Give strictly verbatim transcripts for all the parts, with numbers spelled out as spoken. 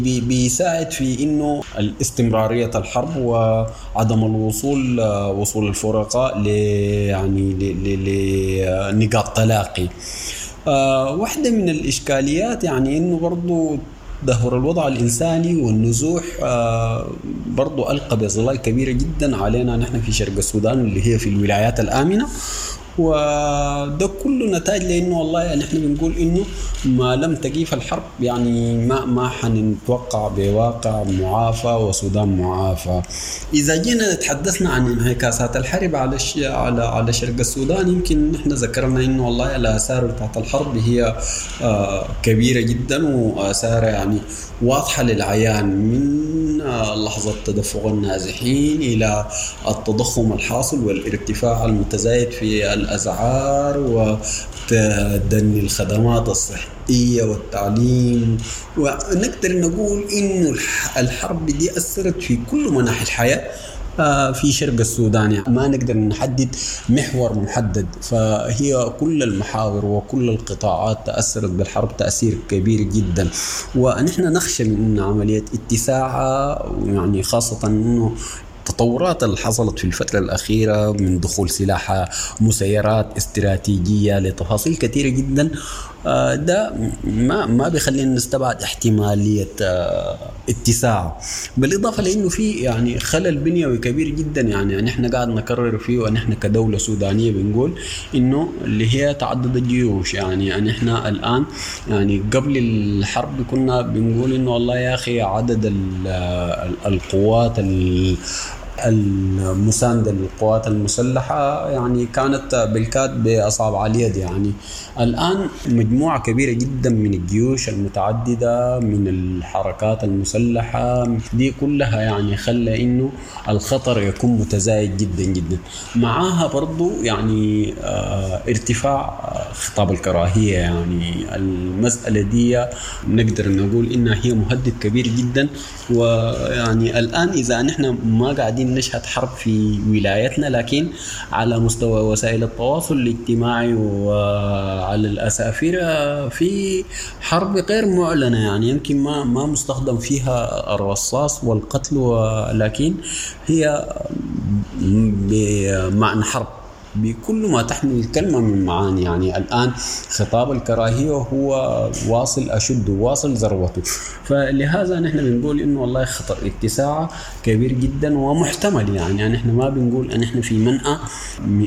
بيساعد في انه الاستمرارية الحرب وعدم الوصول وصول الفرقاء ل يعني لنقاط تلاقي. آه واحدة من الإشكاليات يعني إنه برضو تدهور الوضع الإنساني والنزوح آه برضو ألقى بظلال كبيرة جدا علينا نحن في شرق السودان اللي هي في الولايات الآمنة، وده كله نتاج لأنه والله يعني احنا بنقول إنه ما لم تقيف الحرب يعني ما ما حنتوقع بواقع معافى وسودان معافى. إذا جينا تحدثنا عن انعكاسات الحرب على على على شرق السودان، يمكن نحن ذكرنا إنه والله الآثار بتاعت الحرب هي آه كبيرة جدا وآثارها يعني واضحة للعيان، من لحظة تدفق النازحين إلى التضخم الحاصل والارتفاع المتزايد في الأسعار وتدني الخدمات الصحية والتعليم. ونقدر نقول إنه الحرب دي أثرت في كل مناحي الحياة في شرق السودان، يعني ما نقدر نحدد محور محدد، فهي كل المحاور وكل القطاعات تأثرت بالحرب تأثير كبير جدا. ونحن نخشى من عملية اتساعها، يعني خاصة أنه التطورات اللي حصلت في الفترة الأخيرة من دخول سلاح مسيرات استراتيجية لتفاصيل كثيرة جدا، ده ما ما بيخلينا نستبعد احتمالية اتساع. بالإضافة لأنه في يعني خلل بنيوي كبير جدا، يعني نحن قاعد نكرر فيه، ونحن كدولة سودانية بنقول إنه اللي هي تعدد الجيوش. يعني نحن الآن يعني قبل الحرب كنا بنقول إنه والله يا أخي عدد القوات المساندة للقوات المسلحة يعني كانت بالكاد بأصابع اليد. يعني الآن مجموعة كبيرة جدا من الجيوش المتعددة من الحركات المسلحة دي كلها يعني خلى إنه الخطر يكون متزايد جدا جدا. معاها برضو يعني اه ارتفاع خطاب الكراهية، يعني المسألة دي نقدر نقول إنها هي مهدد كبير جدا. ويعني الآن إذا نحن ما قاعدين نشهد حرب في ولايتنا، لكن على مستوى وسائل التواصل الاجتماعي وعلى الأسافير في حرب غير معلنة، يعني يمكن ما ما مستخدم فيها الرصاص والقتل، ولكن هي بمعنى حرب بكل ما تحمل الكلمة من معاني. يعني الآن خطاب الكراهية هو واصل أشده واصل ذروته، فلهذا نحن بنقول إنه والله خطر اتساعه كبير جدا ومحتمل. يعني, يعني نحن ما بنقول أن نحن في منأى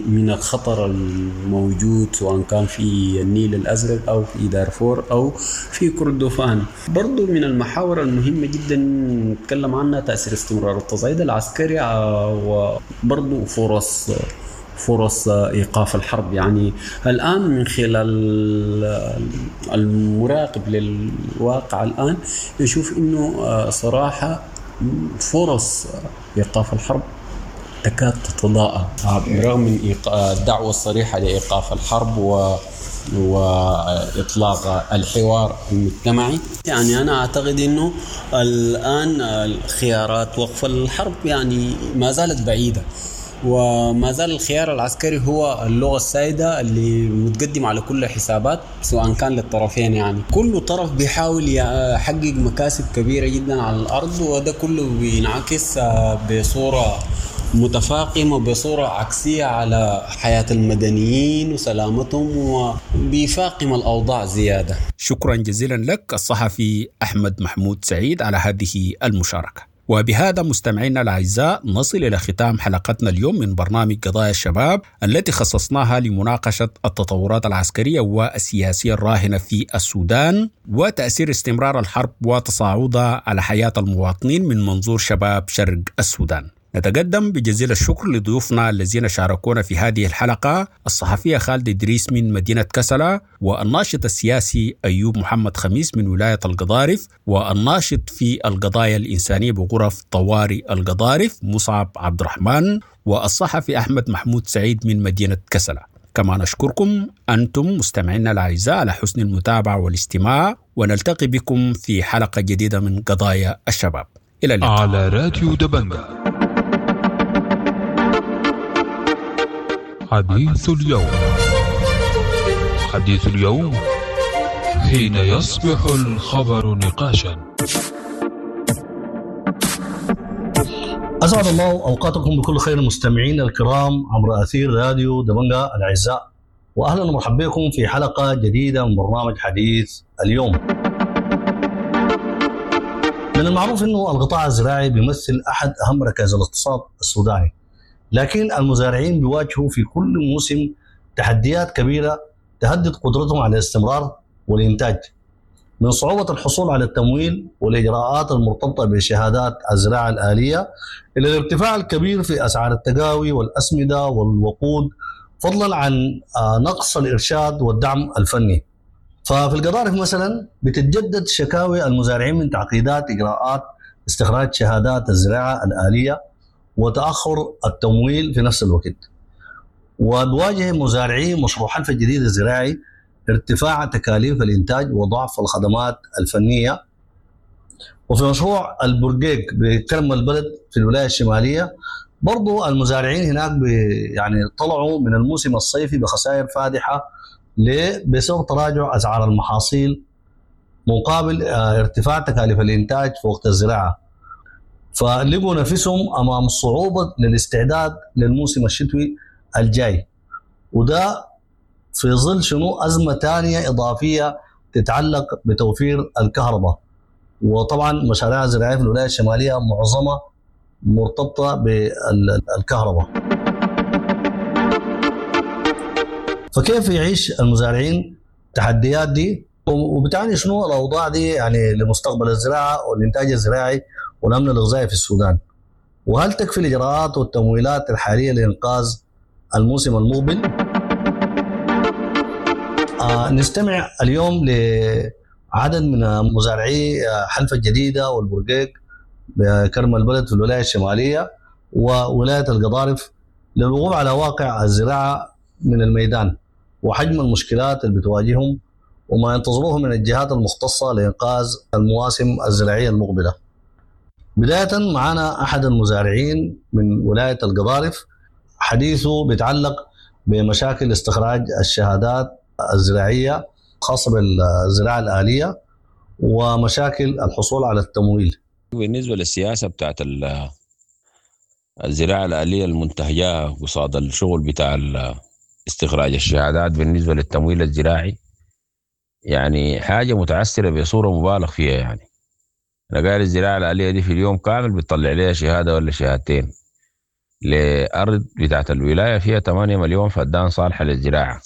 من الخطر الموجود سواء كان في النيل الأزرق أو في دارفور أو في كردفان. برضو من المحاور المهمة جدا نتكلم عنها تأثير استمرار التصعيد العسكري وبرضو فرص فرص إيقاف الحرب. يعني الآن من خلال المراقب للواقع الآن يشوف إنه صراحة فرص إيقاف الحرب تكاد تتضاءل برغم من الدعوة الصريحة لإيقاف الحرب و وإطلاق الحوار المجتمعي. يعني أنا أعتقد أنه الآن الخيارات وقف الحرب يعني ما زالت بعيدة، وما زال الخيار العسكري هو اللغة السائدة اللي متقدم على كل الحسابات سواء كان للطرفين. يعني كل طرف بيحاول يحقق مكاسب كبيرة جدا على الأرض، وده كله بينعكس بصورة متفاقمة بصورة عكسية على حياة المدنيين وسلامتهم، وبيفاقم الأوضاع زيادة. شكرا جزيلا لك الصحفي أحمد محمود سعيد على هذه المشاركة. وبهذا مستمعينا الأعزاء نصل إلى ختام حلقتنا اليوم من برنامج قضايا الشباب التي خصصناها لمناقشة التطورات العسكرية والسياسية الراهنة في السودان وتأثير استمرار الحرب وتصاعدها على حياة المواطنين من منظور شباب شرق السودان. نتقدم بجزيل الشكر لضيوفنا الذين شاركونا في هذه الحلقة، الصحفية خالد إدريس من مدينة كسلة، والناشط السياسي أيوب محمد خميس من ولاية القضارف، والناشط في القضايا الإنسانية بغرف طوارئ القضارف مصعب عبد الرحمن، والصحفي أحمد محمود سعيد من مدينة كسلة. كما نشكركم أنتم مستمعينا الأعزاء على حسن المتابعة والاستماع، ونلتقي بكم في حلقة جديدة من قضايا الشباب. إلى اللقاء على راديو دبنجة. حديث اليوم، حديث اليوم حين يصبح الخبر نقاشا. أسعد الله أوقاتكم بكل خير المستمعين الكرام عبر أثير راديو دبنجا الأعزاء، وأهلا ومرحبا بكم في حلقة جديدة من برنامج حديث اليوم. من المعروف أنه القطاع الزراعي بيمثل أحد أهم ركائز الاقتصاد السوداني، لكن المزارعين بيواجهوا في كل موسم تحديات كبيرة تهدد قدرتهم على الاستمرار والإنتاج، من صعوبة الحصول على التمويل والإجراءات المرتبطة بشهادات الزراعة الآلية إلى الارتفاع الكبير في أسعار التقاوي والأسمدة والوقود، فضلا عن نقص الإرشاد والدعم الفني. ففي القضارف مثلا بتتجدد شكاوي المزارعين من تعقيدات إجراءات استخراج شهادات الزراعة الآلية وتأخر التمويل في نفس الوقت. وبواجه مزارعي مشروع حلف الجديد الزراعي ارتفاع تكاليف الإنتاج وضعف الخدمات الفنية. وفي مشروع البرقيق بكرم البلد في الولاية الشمالية برضو المزارعين هناك يعني طلعوا من الموسم الصيفي بخسائر فادحة ليه؟ بسبب تراجع أسعار المحاصيل مقابل ارتفاع تكاليف الإنتاج في وقت الزراعة، فلقوا نفسهم أمام صعوبة للاستعداد للموسم الشتوي الجاي، وده في ظل شنو أزمة تانية إضافية تتعلق بتوفير الكهرباء. وطبعا مشاريع الزراعية في الولاية الشمالية معظمها مرتبطة بالكهرباء. فكيف يعيش المزارعين التحديات دي، وبتعني شنو الأوضاع دي يعني لمستقبل الزراعة والإنتاج الزراعي والأمن الغذائي في السودان؟ وهل تكفي الإجراءات والتمويلات الحالية لإنقاذ الموسم المقبل؟ آه نستمع اليوم لعدد من مزارعي حلفة الجديدة والبرقيق بكرم البلد في الولاية الشمالية وولاية القضارف للوقوف على واقع الزراعة من الميدان وحجم المشكلات اللي بتواجههم وما ينتظروه من الجهات المختصة لإنقاذ المواسم الزراعية المقبلة. بداية معنا أحد المزارعين من ولاية القضارف، حديثه بيتعلق بمشاكل استخراج الشهادات الزراعية خاصة بالزراعة الآلية ومشاكل الحصول على التمويل. بالنسبة للسياسة بتاعت الزراعة الآلية المنتهجة قصاد الشغل بتاع استخراج الشهادات بالنسبة للتمويل الزراعي، يعني حاجة متعسرة بصورة مبالغ فيها. يعني أنا قال الزراعة الآلية دي في اليوم كامل بتطلع لها شهادة ولا شهادتين لأرض بتاعت الولاية فيها ثمانية مليون فدان صالحة للزراعة،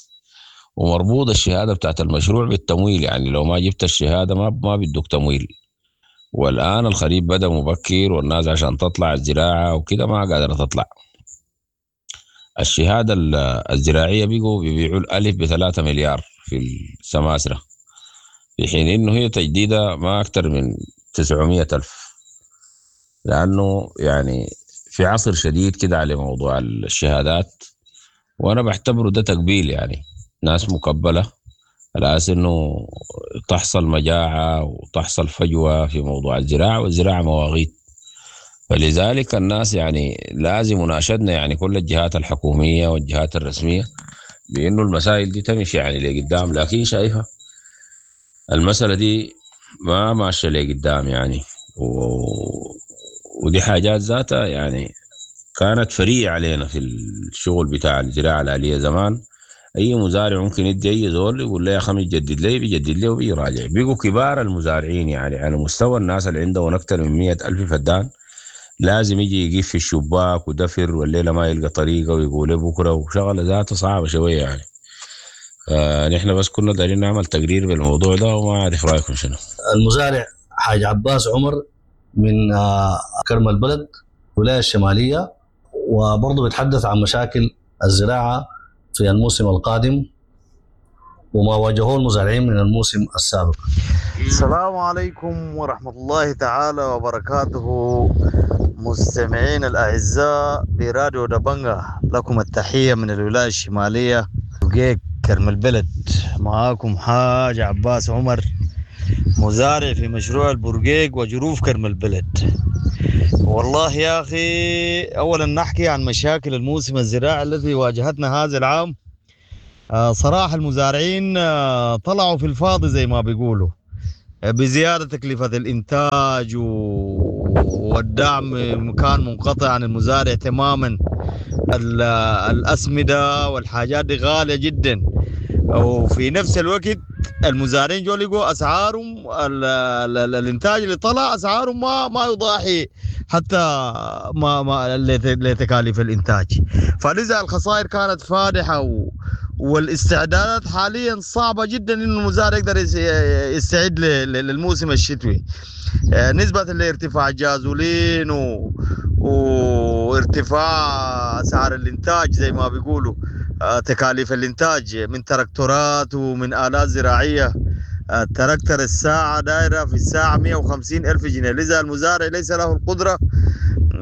ومربوط الشهادة بتاعت المشروع بالتمويل. يعني لو ما جبت الشهادة ما ما بيدوك تمويل. والآن الخريف بدأ مبكر والناس عشان تطلع الزراعة وكده ما قادرة تطلع. الشهادة الزراعية بيقوا بيبيعوا الألف بثلاثة مليار في السماسرة، في حين إنه هي تجديدها ما أكتر من تسعمية ألف، لأنه يعني في عصر شديد كده على موضوع الشهادات، وأنا بعتبره ده تقبيل. يعني ناس مقبلة على أساس إنه تحصل مجاعة وتحصل فجوة في موضوع الزراعة، والزراعة مواغيت. فلذلك الناس يعني لازم مناشدنا يعني كل الجهات الحكومية والجهات الرسمية بإنه المسائل دي تمشي يعني لقدام، لكن شايفة المسألة دي ما ماشية لقدام يعني و... ودي حاجات ذاتها يعني كانت فرية علينا في الشغل بتاع الزراعة الآلية زمان. أي مزارع ممكن يدي أي زول يقول له يا خمي جدد لي، بيجدد لي وبيراجع. بيقوا كبار المزارعين يعني على مستوى الناس اللي عندهم أكثر من مية ألف فدان لازم يجي يقف في الشباك ودفر والليلة ما يلقى طريقة ويقول بكرة، وشغلة ذاته صعبة شوية يعني. فنحن بس كنا دارين نعمل تقرير بالموضوع ده وما أعرف رأيكم شنو. المزارع حاج عباس عمر من كرم البلد ولاية الشمالية، وبرضه بيتحدث عن مشاكل الزراعة في الموسم القادم وما واجهوه المزارعين من الموسم السابق. السلام عليكم ورحمة الله تعالى وبركاته مستمعين الأعزاء براديو دبنجا، لكم التحية من الولاية الشمالية وجيك كرم البلد. معاكم حاج عباس عمر، مزارع في مشروع البرقيق وجروف كرم البلد. والله يا أخي أولا نحكي عن مشاكل الموسم الزراعي الذي واجهتنا هذا العام. صراحة المزارعين طلعوا في الفاضي زي ما بيقولوا. بزيادة تكلفة الإنتاج والدعم كان منقطع عن المزارع تماما. الأسمدة والحاجات دي غالية جدا، وفي نفس الوقت المزارعين جو لقوا أسعارهم الإنتاج اللي طلع أسعارهم ما ما يضاحي حتى ما ما لتكاليف الإنتاج، فلذا الخسائر كانت فادحة و والاستعدادات حاليا صعبة جدا إنه المزارع يقدر يستعد للموسم الشتوي، نسبة لارتفاع الجازولين و... وارتفاع أسعار الإنتاج زي ما بيقولوا، تكاليف الإنتاج من تراكتورات ومن آلات زراعية. التراكتر الساعة دايرة في الساعة مئة وخمسين ألف جنيه، لذا المزارع ليس له القدرة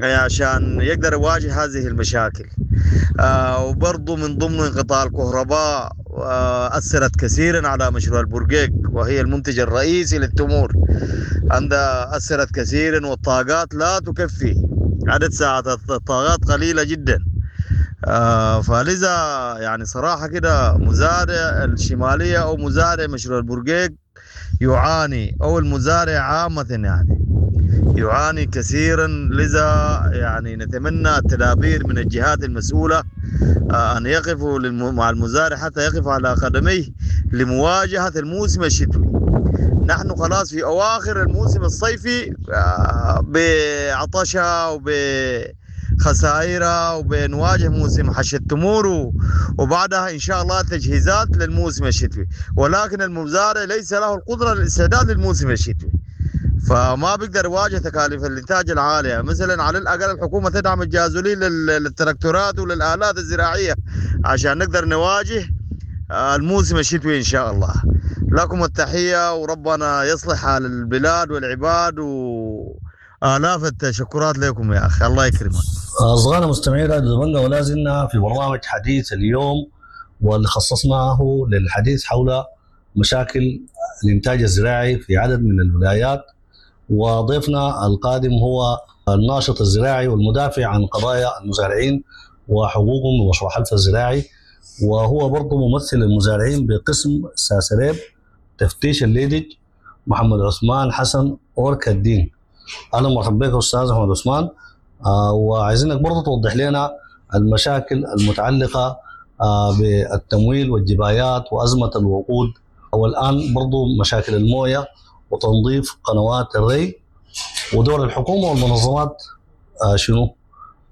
عشان يقدر يواجه هذه المشاكل. آه وبرضه من ضمن انقطاع الكهرباء آه أثرت كثيرا على مشروع البرقيق وهي المنتج الرئيسي للتمور، عندها أثرت كثيرا، والطاقات لا تكفي، عدد ساعات الطاقات قليلة جدا. آه فلذا يعني صراحة كده مزارع الشمالية أو مزارع مشروع البرقيق يعاني، أو المزارع عامة يعني يعاني كثيرا. لذا يعني نتمنى التدابير من الجهات المسؤولة أن يقفوا مع المزارع حتى يقف على قدميه لمواجهة الموسم الشتوي. نحن خلاص في أواخر الموسم الصيفي بعطشة وبخسائرها وبنواجه موسم حش التمور، وبعدها إن شاء الله تجهيزات للموسم الشتوي، ولكن المزارع ليس له القدرة للاستعداد للموسم الشتوي، فما بيقدر يواجه تكاليف الانتاج العاليه. مثلا على الاقل الحكومه تدعم الجازولين للتراكتورات وللالات الزراعيه عشان نقدر نواجه الموسم الشتوي ان شاء الله. لكم التحيه، وربنا يصلح حال البلاد والعباد، والاف التشكرات لكم يا اخي، الله يكرمك. اصدقائنا مستمعي راديو دبنجا، ولا زلنا في برنامج حديث اليوم واللي خصصناه للحديث حول مشاكل الانتاج الزراعي في عدد من الولايات. وضيفنا القادم هو الناشط الزراعي والمدافع عن قضايا المزارعين وحقوقهم ومشروع حلفا الزراعي، وهو برضه ممثل المزارعين بقسم ساسريب تفتيش الليدج، محمد عثمان حسن أوركا الدين. أهلا ومرحبا بك أستاذ محمد عثمان، آه وعايزينك برضه توضح لنا المشاكل المتعلقة آه بالتمويل والجبايات وأزمة الوقود، والآن برضه مشاكل الموية وتنظيف قنوات الري ودور الحكومة والمنظمات آه شنو،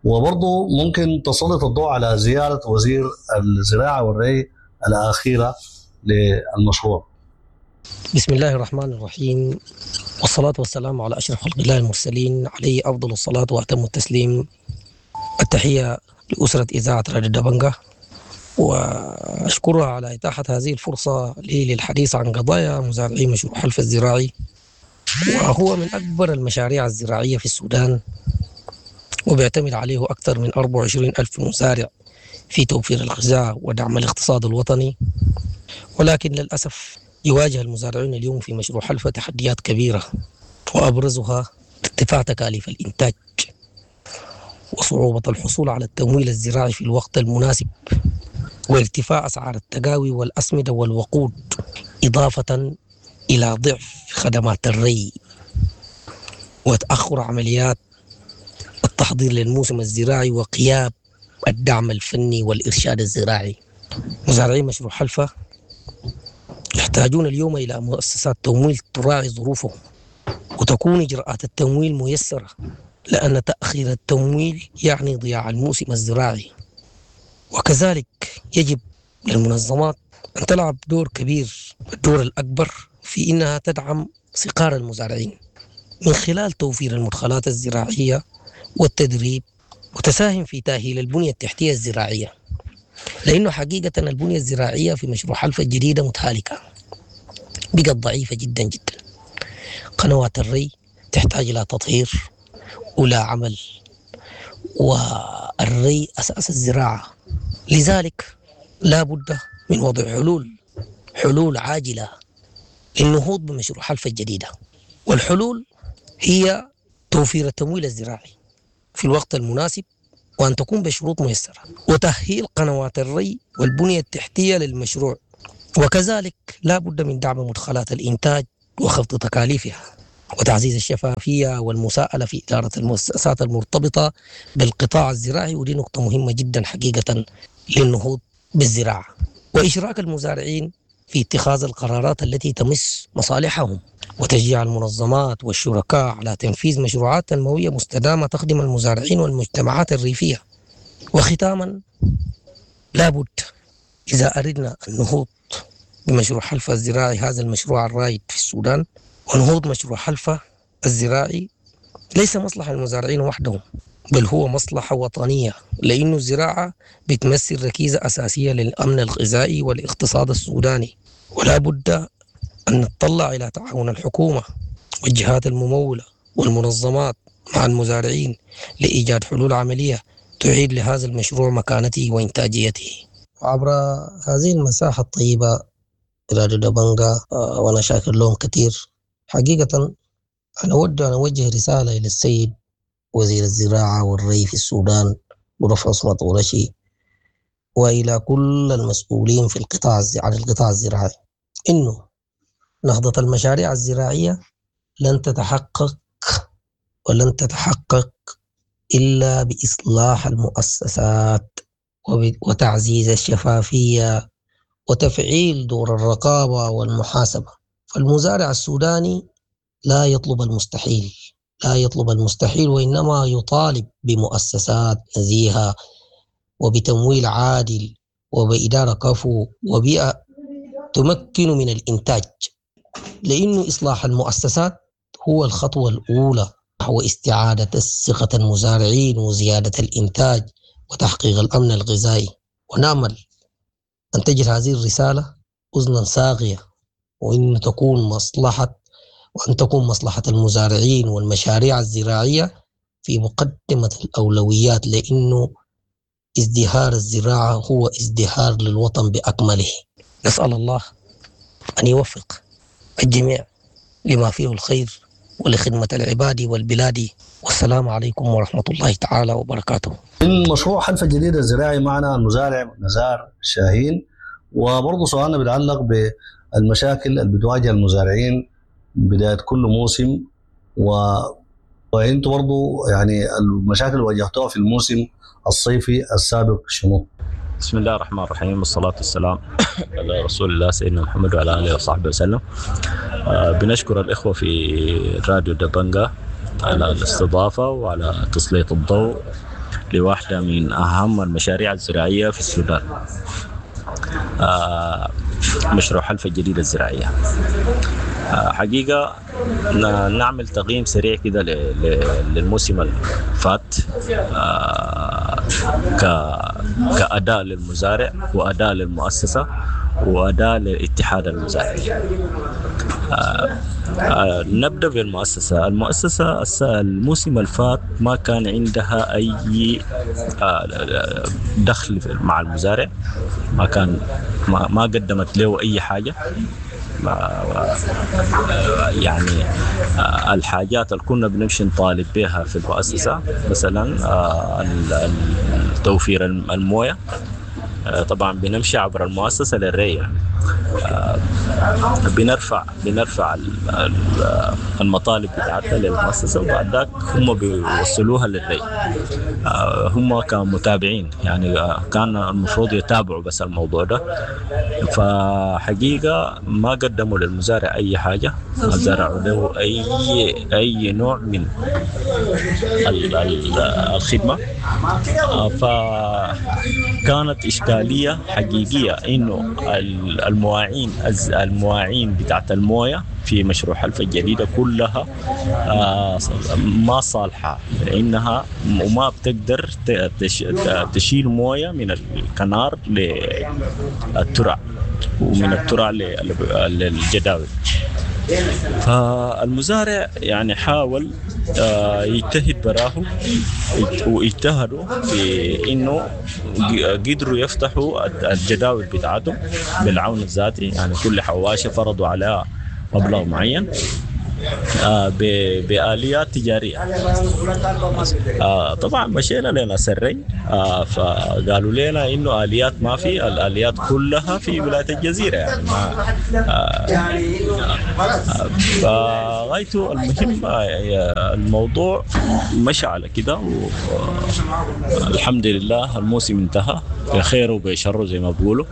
وبرضه ممكن تسلط الضوء على زيارة وزير الزراعة والري الأخيرة للمشروع. بسم الله الرحمن الرحيم، والصلاة والسلام على أشرف خلق الله المرسلين، عليه أفضل الصلاة وأتم التسليم. التحية لأسرة إذاعة راديو دبنجا، وأشكرها على إتاحة هذه الفرصة لي للحديث عن قضايا مزارعي مشروع حلفا الزراعي، وهو من أكبر المشاريع الزراعية في السودان، وبيعتمد عليه أكثر من أربعة وعشرين ألف مزارع في توفير الغذاء ودعم الاقتصاد الوطني. ولكن للأسف يواجه المزارعون اليوم في مشروع حلفا تحديات كبيرة، وأبرزها ارتفاع تكاليف الإنتاج وصعوبة الحصول على التمويل الزراعي في الوقت المناسب، وارتفاع أسعار التقاوي والأسمدة والوقود، إضافة إلى ضعف خدمات الري وتأخر عمليات التحضير للموسم الزراعي وغياب الدعم الفني والإرشاد الزراعي. مزارعي مشروع حلفا يحتاجون اليوم إلى مؤسسات تمويل تراعي ظروفهم، وتكون إجراءات التمويل ميسرة، لأن تأخير التمويل يعني ضياع الموسم الزراعي. وكذلك يجب للمنظمات أن تلعب دور كبير، الدور الأكبر في إنها تدعم صقار المزارعين من خلال توفير المدخلات الزراعية والتدريب، وتساهم في تأهيل البنية التحتية الزراعية، لأنه حقيقة البنية الزراعية في مشروع حلفا الجديدة متهالكة، بقت ضعيفة جدا جدا. قنوات الري تحتاج إلى تطهير ولا عمل، والري أساس الزراعة، لذلك لا بد من وضع حلول حلول عاجلة للنهوض بمشروع حلفا الجديدة. والحلول هي توفير التمويل الزراعي في الوقت المناسب، وأن تكون بشروط ميسرة، وتأهيل قنوات الري والبنية التحتية للمشروع. وكذلك لا بد من دعم مدخلات الإنتاج وخفض تكاليفها، وتعزيز الشفافية والمساءلة في إدارة المؤسسات المرتبطة بالقطاع الزراعي، ودي نقطة مهمة جدا حقيقة للنهوض بالزراعة، وإشراك المزارعين في اتخاذ القرارات التي تمس مصالحهم، وتشجيع المنظمات والشركاء على تنفيذ مشروعات تنموية مستدامة تخدم المزارعين والمجتمعات الريفية. وختاما، لابد إذا أردنا النهوض بمشروع حلفا الزراعي، هذا المشروع الرائد في السودان، ونهوض مشروع حلفا الزراعي ليس مصلحة المزارعين وحدهم، بل هو مصلحة وطنية، لأنه الزراعة بتمثل ركيزة أساسية للأمن الغذائي والاقتصاد السوداني. ولا بد أن نتطلع إلى تعاون الحكومة والجهات الممولة والمنظمات مع المزارعين لإيجاد حلول عملية تعيد لهذا المشروع مكانته وإنتاجيته. عبر هذه المساحة الطيبة راديو دبنجا، وأنا شاكر لهم كثير حقيقة. أنا أود أن أوجه رسالة إلى السيد وزير الزراعة والري في السودان بروف عصمت قرشي، وإلى كل المسؤولين في القطاع عن القطاع الزراعي، إنه نهضة المشاريع الزراعية لن تتحقق ولن تتحقق إلا بإصلاح المؤسسات وتعزيز الشفافية وتفعيل دور الرقابة والمحاسبة. فالمزارع السوداني لا يطلب المستحيل، لا يطلب المستحيل، وإنما يطالب بمؤسسات نزيهة وبتمويل عادل وبإدارة كفو وبيئة تمكن من الإنتاج، لأنه إصلاح المؤسسات هو الخطوة الأولى نحو استعادة الثقة المزارعين وزيادة الإنتاج وتحقيق الأمن الغذائي. ونأمل أن تجد هذه الرسالة أذنا صاغية، وإن تكون مصلحة وأن تكون مصلحة المزارعين والمشاريع الزراعية في مقدمة الأولويات، لأنه ازدهار الزراعة هو ازدهار للوطن بأكمله. نسأل الله أن يوفق الجميع لما فيه الخير ولخدمة العباد والبلاد. والسلام عليكم ورحمة الله تعالى وبركاته. من مشروع حلفا الجديدة الزراعي معنا المزارع نزار شاهين، وبرضه سؤالنا بيتعلق بالمشاكل اللي بتواجه المزارعين بداية كل موسم، و... وانتم برضه يعني المشاكل اللي واجهتوها في الموسم الصيفي السابق شنو؟ بسم الله الرحمن الرحيم، والصلاة والسلام على رسول الله سيدنا محمد وعلى آله وصحبه وسلم. آه بنشكر الإخوة في راديو دبنجا على الاستضافة وعلى تسليط الضوء لواحدة من أهم المشاريع الزراعية في السودان، آه مشروع حلفا الجديدة الزراعية. آه حقيقة نعمل تقييم سريع كده للموسم الفات آه كأداء للمزارع وأداء للمؤسسة وأداء للاتحاد المزارعين. آه آه نبدأ بالمؤسسة. المؤسسة الموسم الفات ما كان عندها أي آه دخل مع المزارع، ما كان ما, ما قدمت له أي حاجة. يعني الحاجات اللي كنا بنمشي نطالب بها في المؤسسة، مثلا توفير الموية، طبعا بنمشي عبر المؤسسة للري، يعني بنرفع بنرفع المطالب بتاعتنا للمؤسسة، وبعد ذاك هم بيوصلوها للري. هم كمتابعين يعني كان المفروض يتابعوا بس الموضوع ده، فحقيقة ما قدموا للمزارع أي حاجة، ما زرعوا له أي أي نوع من الخدمة. فكانت إشكالية حقيقية إنه المواعين المواعين بتاعت الموية في مشروع حلفا الجديدة كلها ما صالحة، لأنها وما بتقدر تشيل موية من الكنار للترع ومن الترع للجداول. فالمزارع يعني حاول يجتهد براه، واجتهدوا في انه قدروا يفتحوا الجداول بتاعتهم بالعون الذاتي، يعني كل حواشة فرضوا عليها مبلغ معين، آه بآليات تجارية. آه طبعا مشينا لناس الري، آه فقالوا لنا إنه آليات ما في، الآليات كلها في ولاية الجزيرة يعني ما آه فغايته المهم الموضوع مشى على كده، والحمد لله الموسم انتهى بخير وبشر زي ما بيقولوا.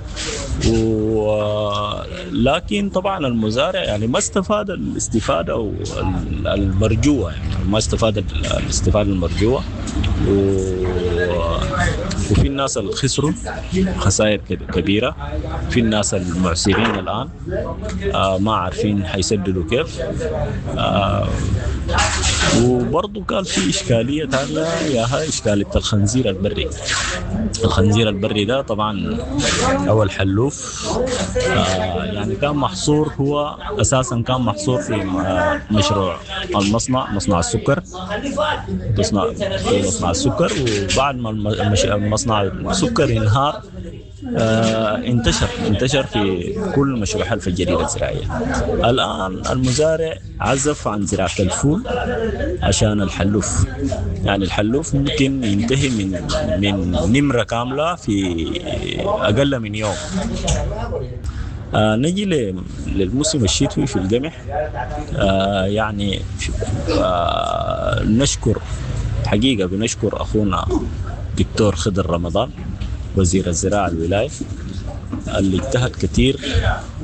ولكن طبعا المزارع يعني ما استفاد الاستفادة المرجوة، يعني ما استفاد الاستفادة المرجوة، و... وفي الناس اللي خسروا خسائر كبيرة، في الناس المعسرين الآن آه ما عارفين حيسددوا كيف. آه وبرضه كان في إشكالية ثانية ياها إشكالية الخنزير البري. الخنزير البري ده طبعا أو الحلوف آه يعني كان محصور، هو أساسا كان محصور في مشروع المصنع، مصنع السكر، مصنع في مصنع السكر. وبعد ما المصنع السكر انهار آه انتشر انتشر في كل مشروع حلفا الجديدة الزراعية. الآن المزارع عزف عن زراعة الفول عشان الحلوف، يعني الحلوف ممكن ينتهي من من نمرة كاملة في أقل من يوم. آه نجي للموسم الشتوي في القمح. آه يعني آه نشكر حقيقة، بنشكر أخونا دكتور خضر رمضان وزير الزراعة الولاية اللي اجتهد كثير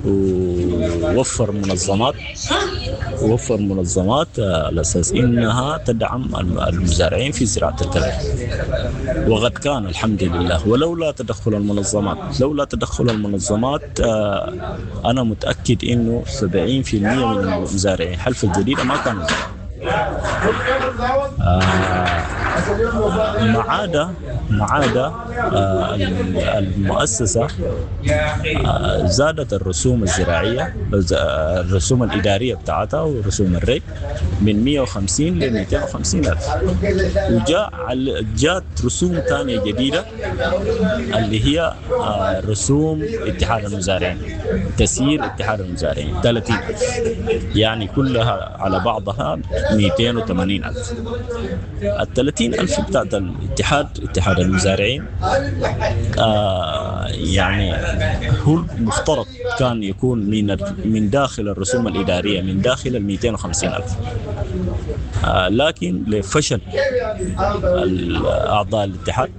ووفر منظمات ووفر منظمات على أساس إنها تدعم المزارعين في زراعة القمح، وقد كان الحمد لله. ولولا تدخل المنظمات لولا تدخل المنظمات أنا متأكد إنه سبعين بالمئة من المزارعين حلفا الجديدة ما كانوا ما عدا ما عدا المؤسسة زادت الرسوم الزراعية، الرسوم الإدارية بتاعتها ورسوم الري من مئة وخمسين ل مئتين وخمسين ألف، وجاء جاءت رسوم ثانية جديدة اللي هي رسوم اتحاد المزارعين، تسيير اتحاد المزارعين ثلاثين ألف، يعني كلها على بعضها مئتين وثمانين ألف. ال ثلاثين ألف بتاعت الاتحاد اتحاد المزارعين آه يعني هو المفترض كان يكون من من داخل الرسوم الإدارية، من داخل ال مئتين وخمسين ألف، آه لكن لفشل أعضاء الاتحاد،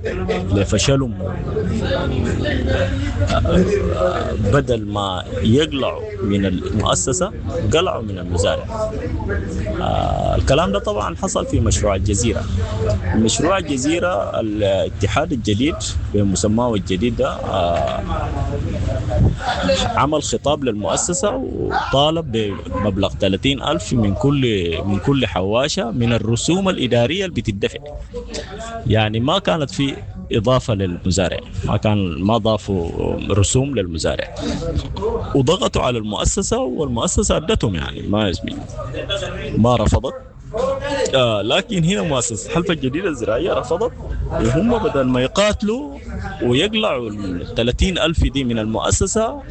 لفشلهم آه بدل ما يقلعوا من المؤسسة قلعوا من المزارع. آه الكلام ده طبعا حصل في مشروع الجزيرة. مشروع الجزيرة الاتحاد الجديد بمسماه الجديد ده آه عمل خطاب للمؤسسة وطالب بمبلغ ثلاثين ألف من كل من كل حواشة من الرسوم الإدارية اللي بتدفع. يعني ما كانت في إضافة للمزارع، ما كان ما ضافوا رسوم للمزارع، وضغطوا على المؤسسة والمؤسسة أدتهم، يعني ما يزمين ما رفضت. آه لكن هنا مؤسسة حلفا الجديدة الزراعية رفضت، وهم بدل ما يقاتلوا ويقلعوا ال ثلاثين ألف دي من المؤسسة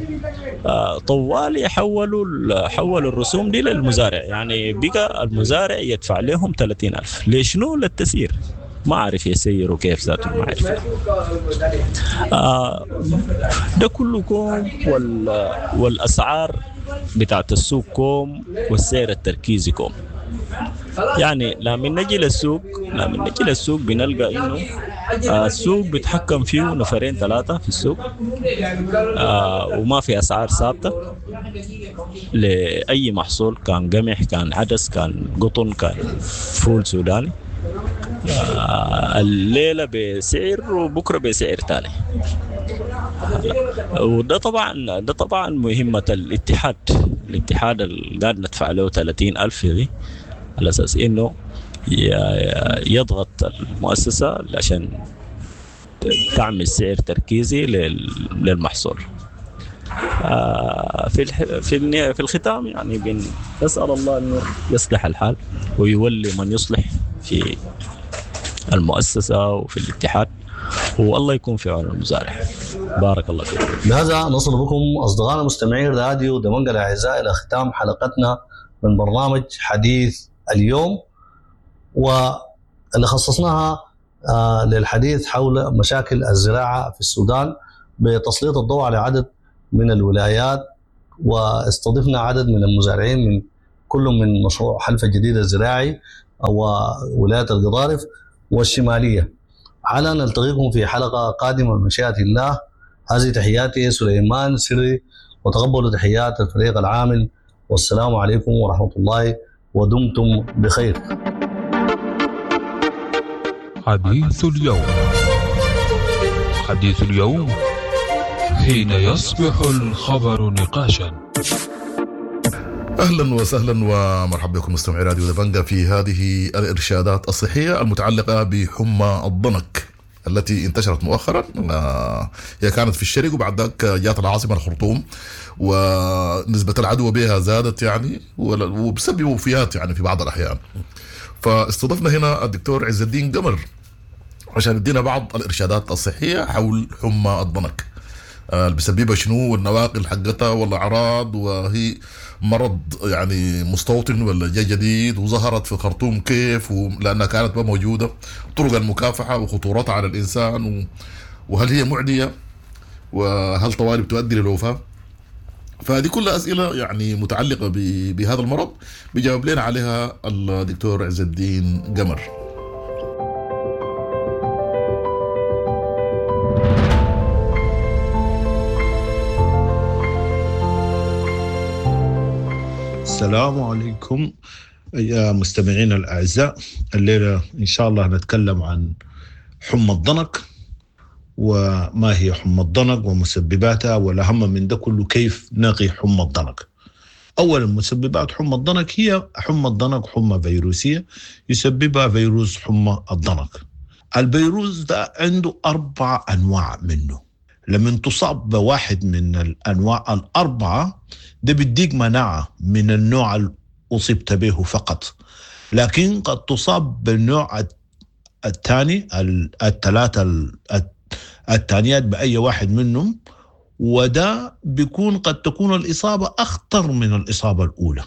آه طوال حولوا حولوا الرسوم دي للمزارع، يعني بقى المزارع يدفع لهم ثلاثين ألف. ليش؟ نو للتسيير، ما عارف يسيروا كيف ذاته، ما عارف. آه ده كله كوم، وال والأسعار بتاعت السوق كوم، والسعر التركيزي كوم. يعني لما نجي للسوق لما نجي للسوق بنلقى انه السوق بيتحكم فيه نفرين ثلاثة في السوق، آه وما في اسعار ثابتة لاي محصول، كان قمح كان عدس كان قطن كان فول سوداني. آه الليلة بسعر وبكره بسعر ثاني. وده طبعا ده طبعا مهمة الاتحاد، الاتحاد اللي قاعد ندفع له ثلاثين ألف دي على اساس انه يضغط المؤسسة عشان تعمل سعر تركيزي للمحصول. في في في الختام يعني بنسال الله انه يصلح الحال ويولي من يصلح في المؤسسة وفي الاتحاد، والله يكون في عون المزارع. بارك الله فيك. بهذا نصل بكم اصدقائنا مستمعين راديو دمنجل الاعزاء الى ختام حلقتنا من برنامج حديث اليوم، واللي خصصناها للحديث حول مشاكل الزراعة في السودان بتسليط الضوء على عدد من الولايات، واستضفنا عدد من المزارعين من كل من مشروع حلفا الجديد الزراعي وولاية القضارف والشمالية. على نلتقيكم في حلقة قادمة بمشيئة الله. هذه تحياتي سليمان سري، وتقبلوا تحيات الفريق العامل، والسلام عليكم ورحمة الله، ودمتم بخير. حديث اليوم، حديث اليوم حين يصبح الخبر نقاشا. اهلا وسهلا ومرحبا بكم مستمعي راديو دبنجا في هذه الارشادات الصحية المتعلقة بحمى الضنك التي انتشرت مؤخرا. هي كانت في الشرق وبعد ذاك جات العاصمة الخرطوم، ونسبه العدوى بها زادت يعني وبسبب وفيات يعني في بعض الاحيان. فاستضفنا هنا الدكتور عز الدين قمر عشان يدينا بعض الارشادات الصحية حول حمى الضنك، اللي بسببها شنو والنواقل حقتها والاعراض، وهي مرض يعني مستوطن ولا جاي جديد، وظهرت في الخرطوم كيف لانها كانت ما موجودة، طرق المكافحه وخطورتها على الانسان، و... وهل هي معدية، وهل طوالي بتؤدي للوفاه. فهذه كلها اسئلة يعني متعلقه ب... بهذا المرض بيجاوب لنا عليها الدكتور عز الدين قمر. السلام عليكم يا مستمعين الأعزاء. الليلة إن شاء الله نتكلم عن حمى الضنك، وما هي حمى الضنك ومسبباتها، والأهم من ده كله كيف نقي حمى الضنك. أولا، مسببات حمى الضنك هي حمى الضنك حمى فيروسية يسببها فيروس حمى الضنك. الفيروس ده عنده أربع أنواع منه، لما تصاب بواحد من الأنواع الأربعة ده بيديك مناعة من النوع اللي أصبت به فقط، لكن قد تصاب بالنوع الثاني، الثلاثة الثانيات بأي واحد منهم، وده بيكون قد تكون الإصابة أخطر من الإصابة الأولى.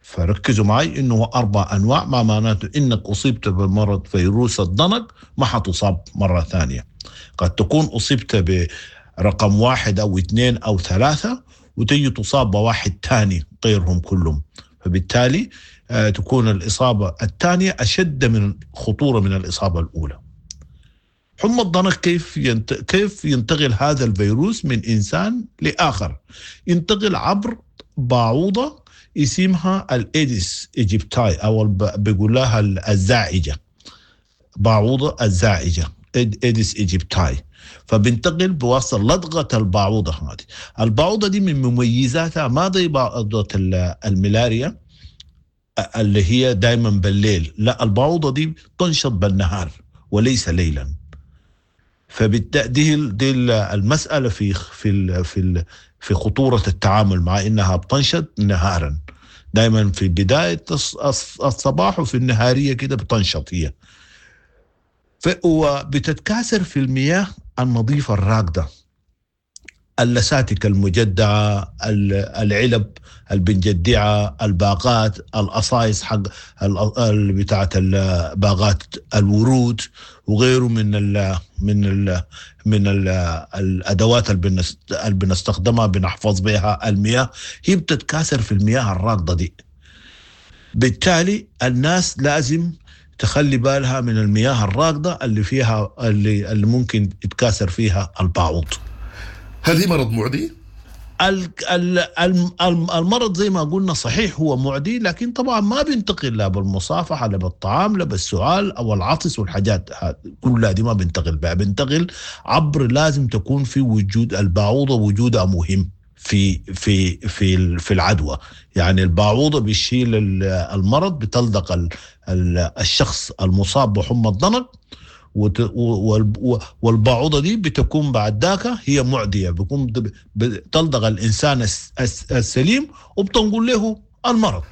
فركزوا معي إنه أربع أنواع، ما معناته إنك أصبت بمرض فيروس الضنك ما حتصاب مرة ثانية. قد تكون أصبت برقم واحد أو اثنين أو ثلاثة وتجي تصاب بواحد ثاني غيرهم كلهم، فبالتالي تكون الإصابة الثانية أشد من خطورة من الإصابة الأولى. حمى الضنك كيف ينت... كيف ينتقل هذا الفيروس من إنسان لآخر؟ ينتقل عبر باعوضة اسمها ال Aedes aegypti، أو بيقول لها الزاعجة، باعوضة الزاعجة Aedes aegypti. فبنتقل بواسطة لدغة الباعوضة هذه. الباعوضة دي من مميزاتها ما زي باعوضة الملاريا اللي هي دايما بالليل، لا، الباعوضة دي تنشط بالنهار وليس ليلا. فبالتالي دي المسألة في في في في خطورة التعامل مع إنها بتنشط نهارا، دايما في بداية الصباح وفي النهارية كده بتنشط هي، وبتتكاثر في المياه النظيفة الراكدة، اللساتك المجدعة، العلب البنجدعة، الباقات، القصايص حق بتاعة الباقات الورود وغيره من ال من ال من ال الأدوات اللي بنستخدمها بنحفظ بها المياه، هي بتتكاثر في المياه الراكدة دي. بالتالي الناس لازم تخلي بالها من المياه الراكدة اللي فيها اللي, اللي ممكن يتكاثر فيها الباعوض. هل هي مرض معدي؟ المرض زي ما قلنا صحيح هو معدي، لكن طبعا ما بينتقل لا بالمصافحة لا بالطعام لا بالسعال أو العطس والحاجات كلها دي ما بينتقل بها، بينتقل عبر لازم تكون في وجود الباعوضة، وجودها مهم في في في في العدوى. يعني الباعوضة بيشيل المرض، بتلدق الشخص المصاب بحمى الضنك، والباعوضة دي بتكون بعد ذاك هي معدية، بيكون بتلدغ الإنسان السليم وبتنقل له المرض.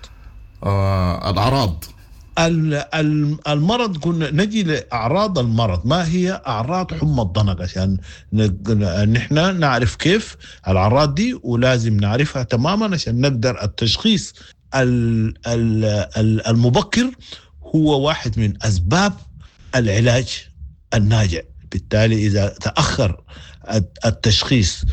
آه الأعراض المرض، كنا نجي لأعراض المرض. ما هي أعراض حمى الضنك عشان نحن نعرف كيف الأعراض دي، ولازم نعرفها تماما عشان نقدر التشخيص المبكر هو واحد من أسباب العلاج الناجع. بالتالي إذا تأخر التشخيص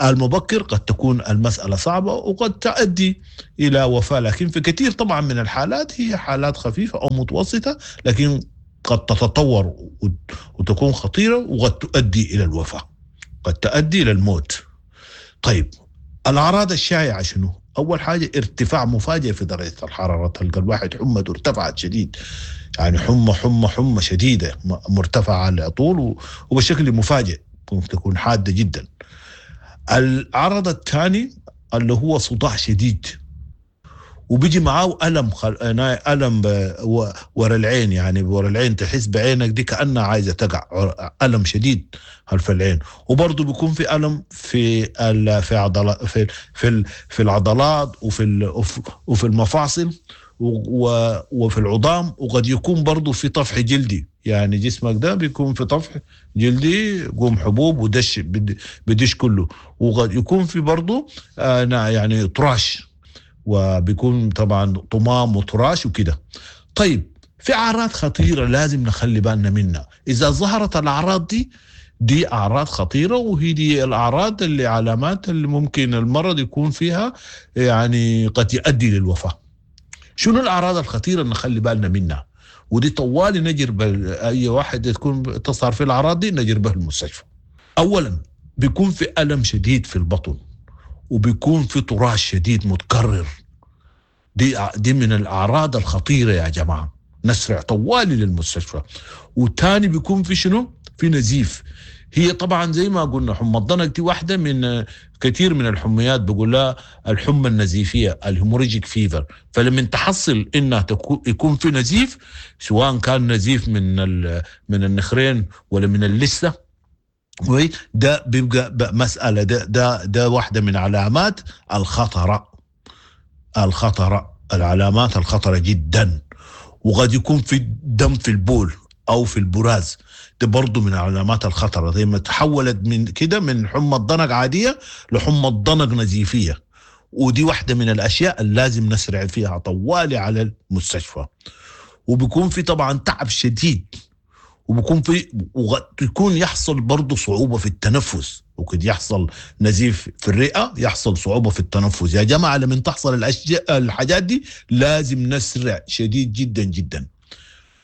المبكر قد تكون المسألة صعبة وقد تؤدي إلى وفاة، لكن في كثير طبعا من الحالات هي حالات خفيفة أو متوسطة، لكن قد تتطور وتكون خطيرة وقد تؤدي إلى الوفاة، قد تؤدي إلى الموت. طيب الأعراض الشائعة شنو؟ أول حاجة ارتفاع مفاجئ في درجة الحرارة، تلقى الواحد حمته ارتفعت شديد، يعني حمى حمى حمى شديدة مرتفعة على طول وبشكل مفاجئ، ممكن تكون حادة جدا. العرض الثاني اللي هو صداع شديد، وبيجي معاه ألم خل... ألم ب... ورا العين، يعني ورا العين تحس بعينك دي كأنها عايزة تقع، ألم شديد خلف العين. وبرضه بيكون في ألم في ال... في عضلات في في ال... في العضلات وفي ال... وفي المفاصل و... وفي العظام، وقد يكون برضه في طفح جلدي، يعني جسمك ده بيكون في طفح جلدي، قوم حبوب ودش بدش كله، وقد يكون في برضه آه يعني طراش، وبيكون طبعا طمام وطراش وكده. طيب في أعراض خطيرة لازم نخلي بالنا منها، إذا ظهرت الأعراض دي دي أعراض خطيرة، وهي دي الأعراض اللي علامات اللي ممكن المرض يكون فيها يعني قد يؤدي للوفاة. شنو الأعراض الخطيرة اللي نخلي بالنا منها؟ ودي طوالي نجر أي واحد تكون تظهر في الأعراض دي نجر به المستشفى. أولا بيكون في ألم شديد في البطن، وبيكون في طراش شديد متكرر، دي دي من الأعراض الخطيرة يا جماعة، نسرع طوالي للمستشفى. وتاني بيكون في شنو؟ في نزيف. هي طبعا زي ما قلنا حمى الضنك دي واحدة من كثير من الحميات، بقول لها الحمى النزيفية ال hemorrhagic fever. فلما تحصل انها يكون في نزيف، سواء كان نزيف من من النخرين ولا من اللثة، ده بيبقى مسألة، ده ده ده واحدة من علامات الخطرة، الخطرة العلامات الخطرة جدا. وقد يكون في دم في البول أو في البراز، ده برضو من علامات الخطرة. زي ما تحولت من كده من حمى الضنك عادية لحمى الضنك نزيفية، ودي واحدة من الأشياء اللي لازم نسرع فيها طوالي على المستشفى. وبيكون في طبعا تعب شديد، وبيكون في ويكون يحصل برضه صعوبة في التنفس، وقد يحصل نزيف في الرئة، يحصل صعوبة في التنفس. يا جماعة لما تحصل الأشياء الحاجات دي لازم نسرع شديد جدا جدا.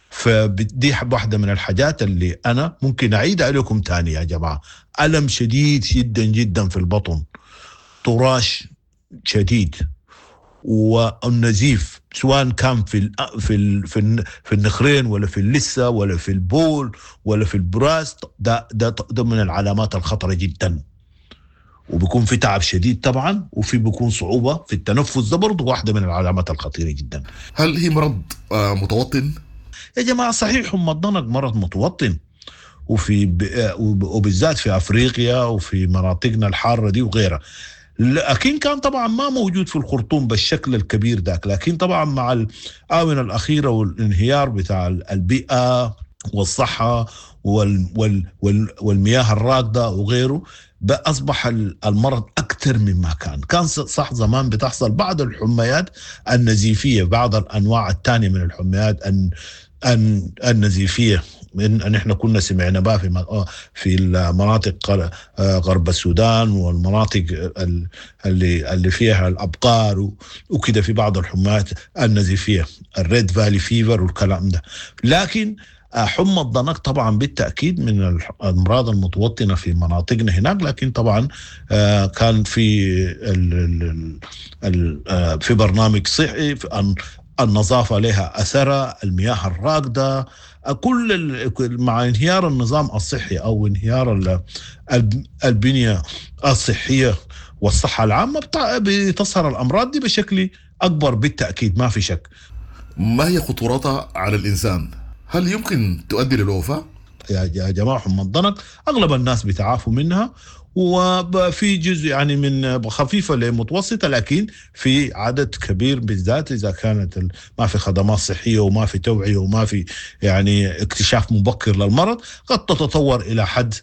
فدي واحدة من الحاجات اللي أنا ممكن أعيد عليكم تاني يا جماعة: ألم شديد جدا جدا في البطن، طراش شديد، والنزيف سواء كان في ال في ال في, في النخرين ولا في اللثة ولا في البول ولا في البراز، ده ده ده من العلامات الخطرة جدا. وبيكون في تعب شديد طبعا، وفي بيكون صعوبة في التنفس، ده برضه واحدة من العلامات الخطيرة جدا. هل هي مرض متوطن؟ يا جماعة صحيح حمى الضنك مرض متوطن، وفي وبالذات في افريقيا وفي مناطقنا الحارة دي وغيرها، لكن كان طبعا ما موجود في الخرطوم بالشكل الكبير ذاك. لكن طبعا مع الآونة الأخيرة والانهيار بتاع البيئة والصحة وال وال وال والمياه الراكدة وغيره، أصبح المرض أكثر مما كان. كان صح زمان بتحصل بعض الحميات النزيفية، بعض الأنواع الثانية من الحميات النزيفية، ان احنا كنا سمعنا بها في في المناطق غرب السودان والمناطق اللي اللي فيها الابقار وكده، في بعض الحميات النزيفيه ال Red Valley fever والكلام ده. لكن حمى الضنك طبعا بالتاكيد من الامراض المتوطنه في مناطقنا هناك، لكن طبعا كان في ال ال في برنامج صحي، النظافة لها اثرها، المياه الراكده، كل مع انهيار النظام الصحي او انهيار البنية الصحية والصحة العامة بتظهر الامراض دي بشكل اكبر بالتاكيد، ما في شك. ما هي خطورتها على الانسان؟ هل يمكن تؤدي للوفاه؟ يا جماعة حمى الضنك اغلب الناس بيتعافوا منها، وفي جزء يعني من خفيفة لمتوسطه، لكن في عدد كبير بالذات اذا كانت ما في خدمات صحية وما في توعيه وما في يعني اكتشاف مبكر للمرض، قد تتطور الى حد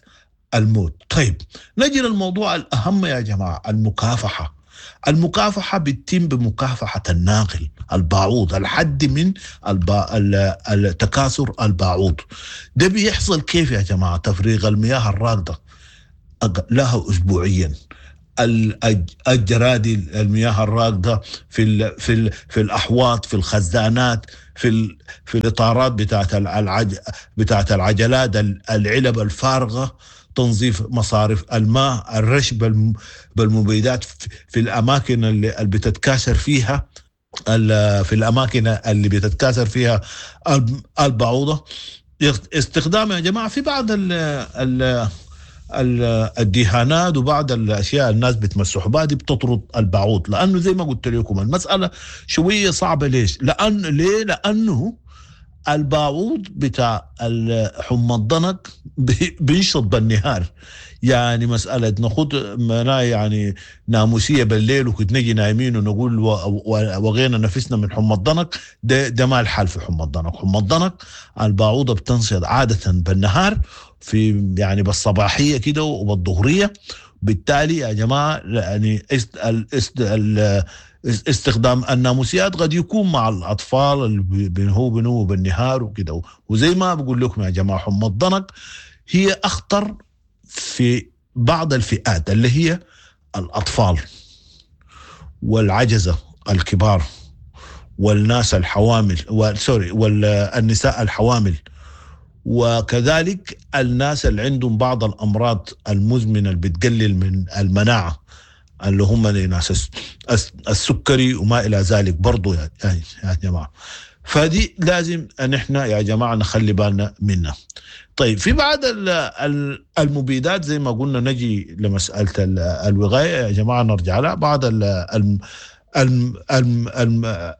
الموت. طيب نجي للموضوع الاهم يا جماعة، المكافحه. المكافحة بتتم بمكافحة الناقل الباعوض، الحد من البا... التكاثر الباعوض. ده بيحصل كيف يا جماعة؟ تفريغ المياه الراكدة لها أسبوعيا، الجرادي المياه الراكدة في ال في ال في الأحواض، في الخزانات، في ال في الإطارات بتاعت العج بتاعت العجلات، العلب الفارغة، تنظيف مصارف الماء، الرش بالمبيدات في الأماكن اللي بتتكاثر فيها في الأماكن اللي بتتكاثر فيها البعوضة. استخدام يا جماعة في بعض ال ال الدهانات وبعض الأشياء الناس بتمسحوا بها دي بتطرد البعوض، لأنه زي ما قلت لكم المسألة شوية صعبة. ليش؟ لأن ليه؟ لأنه الباعوض بتاع حمى الضنك بينشط بالنهار، يعني مسألة ناخد يعني ناموسية بالليل وكنت نجي نايمين ونقول وغينا نفسنا من حمى الضنك، ده, ده ما الحال في حمى الضنك. حمى الضنك الباعوضة بتنشط عادة بالنهار، في يعني بالصباحية كده وبالظهرية. بالتالي يا جماعة يعني استخدام الناموسيات قد يكون مع الأطفال اللي بنهو بنو بالنهار وكده. وزي ما بقول لكم يا جماعة حمى الضنك هي أخطر في بعض الفئات اللي هي الأطفال والعجزة الكبار والناس الحوامل، سوري والنساء الحوامل، وكذلك الناس اللي عندهم بعض الأمراض المزمنة اللي بتقلل من المناعة اللي هم ناس السكري وما إلى ذلك برضو يا جماعة. فدي لازم أن احنا يا جماعة نخلي بالنا منها. طيب في بعض المبيدات زي ما قلنا نجي لمسألة الوقاية يا جماعة نرجع لها. بعض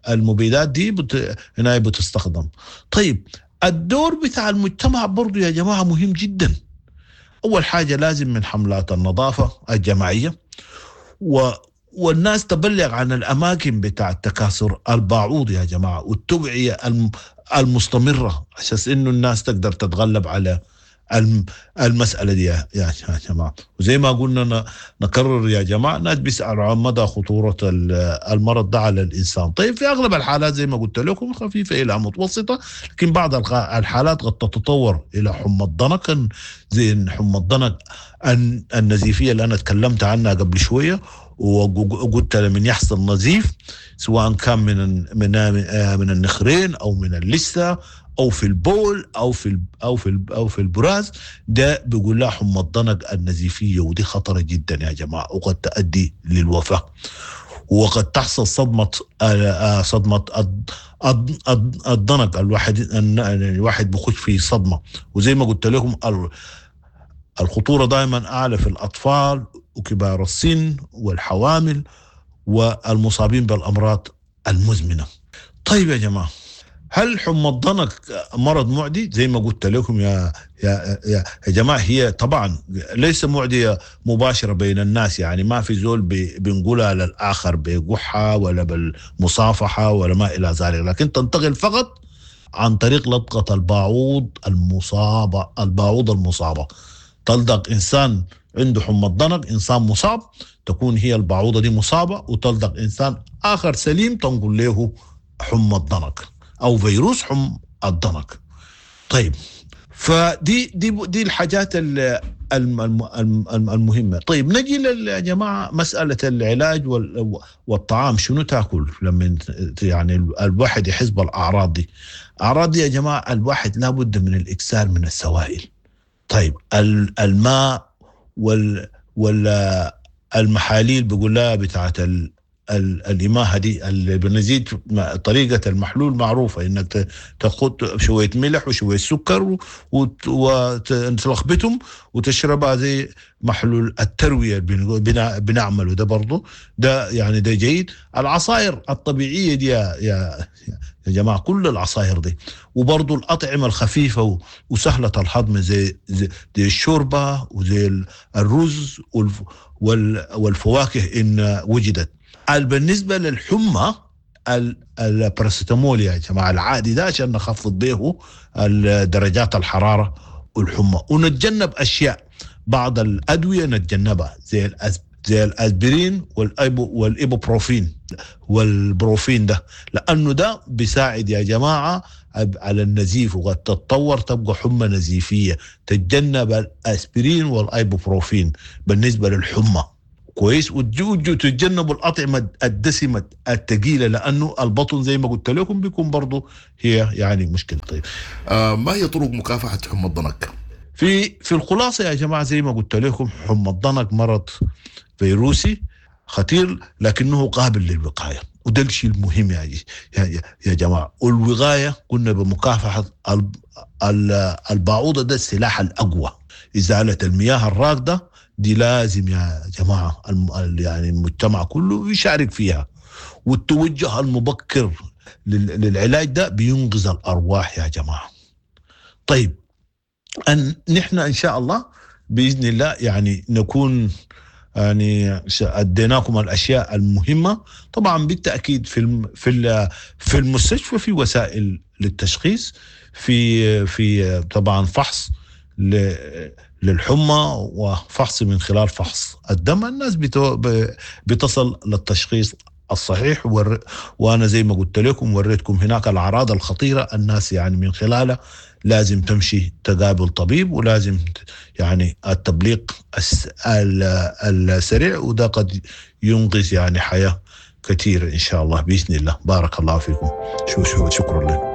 المبيدات دي بت... هنا بتستخدم. طيب الدور بتاع المجتمع برضو يا جماعة مهم جدا. أول حاجة لازم من حملات النظافة الجماعية و... والناس تبلغ عن الأماكن بتاع التكاثر الباعوض يا جماعة، والتوعية المستمرة عشان إنه الناس تقدر تتغلب على المسألة دي يا جماعة. وزي ما قلنا نكرر يا جماعة، الناس بيسألوا عن مدى خطورة المرض ده على الإنسان. طيب في أغلب الحالات زي ما قلت لكم خفيفة إلى متوسطة، لكن بعض الحالات قد تتطور إلى حمى الضنك، زي حمى الضنك النزيفية اللي أنا تكلمت عنها قبل شوية، وقلت لمن يحصل نزيف سواء كان من من من النخرين أو من اللثة او في البول او في او في او في البراز، ده بيقول لها حمى الضنك النزيفيه، ودي خطره جدا يا جماعه وقد تؤدي للوفاه، وقد تحصل صدمه صدمه الضنك. الواحد الواحد بخش في صدمه، وزي ما قلت لكم الخطوره دائما اعلى في الاطفال وكبار السن والحوامل والمصابين بالامراض المزمنه. طيب يا جماعه، هل حمى الضنك مرض معدي؟ زي ما قلت لكم يا يا يا جماعه هي طبعا ليس معديه مباشره بين الناس، يعني ما في زول بنقولها للاخر بقحه ولا بالمصافحه ولا ما الى ذلك، لكن تنتقل فقط عن طريق لدغه الباعوض المصابه. الباعوض المصابه تلدغ انسان عنده حمى الضنك، انسان مصاب، تكون هي الباعوضه دي مصابه، وتلدغ انسان اخر سليم تنقل له حمى الضنك او فيروس حمى الضنك. طيب فدي دي دي الحاجات المهمه. طيب نجي يا جماعه مساله العلاج والطعام، شنو تاكل لما يعني الواحد يحس بالاعراض دي؟ اعراض دي يا جماعه الواحد لابد من الاكثار من السوائل. طيب الماء وال والمحاليل بيقول لها بتاعت ال الإماهة دي اللي بنزيد طريقة المحلول معروفة، إنك تاخد شوية ملح وشوية سكر وتلخبطهم وتشربها زي محلول التروية اللي بنعمله ده برضو، ده يعني ده جيد. العصائر الطبيعية دي يا, يا, يا جماعة، كل العصائر دي، وبرضو الأطعمة الخفيفة وسهلة الهضم زي, زي, زي الشوربة وزي الرز والفواكه إن وجدت. بالنسبة للحمى الباراسيتامول يا جماعة العادي ده عشان نخفض به درجات الحرارة والحمى، ونتجنب أشياء بعض الأدوية نتجنبها زي زي الاسبرين والايبو والايبوبروفين والبروفين ده، لانه ده بيساعد يا جماعة على النزيف، وقد تتطور تبقى حمى نزيفيه. تتجنب الاسبرين والايبوبروفين بالنسبة للحمى كويس. وتتجنبوا الاطعمة الدسمة الثقيلة، لانه البطن زي ما قلت لكم بيكون برضه هي يعني مشكلة. طيب آه ما هي طرق مكافحة حمى الضنك؟ في في الخلاصة يا جماعة زي ما قلت لكم، حمى الضنك مرض فيروسي خطير لكنه قابل للوقايه، وده الشيء المهم يا يا يا جماعة. والوقاية قلنا بمكافحة البعوضة، ده السلاح الاقوى. ازالة المياه الراكده دي لازم يا جماعة يعني المجتمع كله يشارك فيها، والتوجه المبكر للعلاج ده بينقذ الارواح يا جماعة. طيب أن نحن إن شاء الله بإذن الله يعني نكون يعني أديناكم الأشياء المهمة. طبعا بالتأكيد في في في المستشفى في وسائل للتشخيص، في في طبعا فحص للحمى وفحص من خلال فحص الدم، الناس بتصل للتشخيص الصحيح. ور... وانا زي ما قلت لكم وريتكم هناك الاعراض الخطيرة، الناس يعني من خلالها لازم تمشي تقابل طبيب، ولازم يعني التبليغ الس... السريع، وده قد ينقذ يعني حياة كثيرة ان شاء الله باذن الله. بارك الله فيكم، شو شو شكرا لكم.